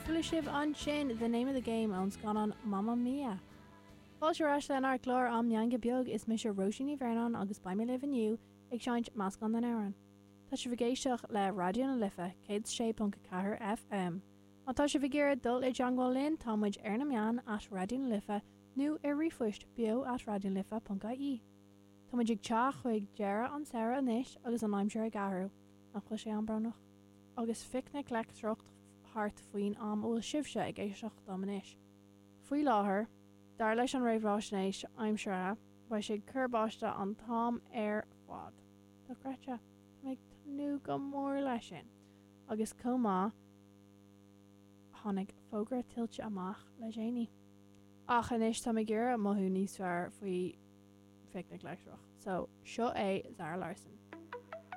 Chuala sibh ansin The Name of the Game ón scannán Mamma Mia! Fáilte ar ais lenár gclár Am Meangadh Beag, is mise Róisín Ní Bhraonáin agus beidh mé libh inniu ag seinnt meascán den amhrán. Tá sibh ag éisteacht le Raidió na Life 106.4 FM. Má tá sibh ag iarraidh dul i dteangmháil linn, tá muid ar na meáin at Raidió na Life nó ar ríomhphost beo at raidionalife.ie. Tá muid ag teacht chuig deireadh an samhradh anois agus an aimsir ag athrú, nach bhfuil sé an-bhrónach? Agus phicnic leictreach thart faoin am a bhfuil sibhse ag éisteacht dom anois. Faoi láthair, dar leis an réamhaisnéis aimsire, beidh sé ag cur báistí an t-am ar fad. Dochreidte. Tá mé ag tnúth go mór leis sin. Agus chomh maith, tháinig fógra tuilte amach le déanaí. Ach anois táim ag iarraidh mothú níos fearr faoi phicnic leictreach. So, seo é Zara Larsson.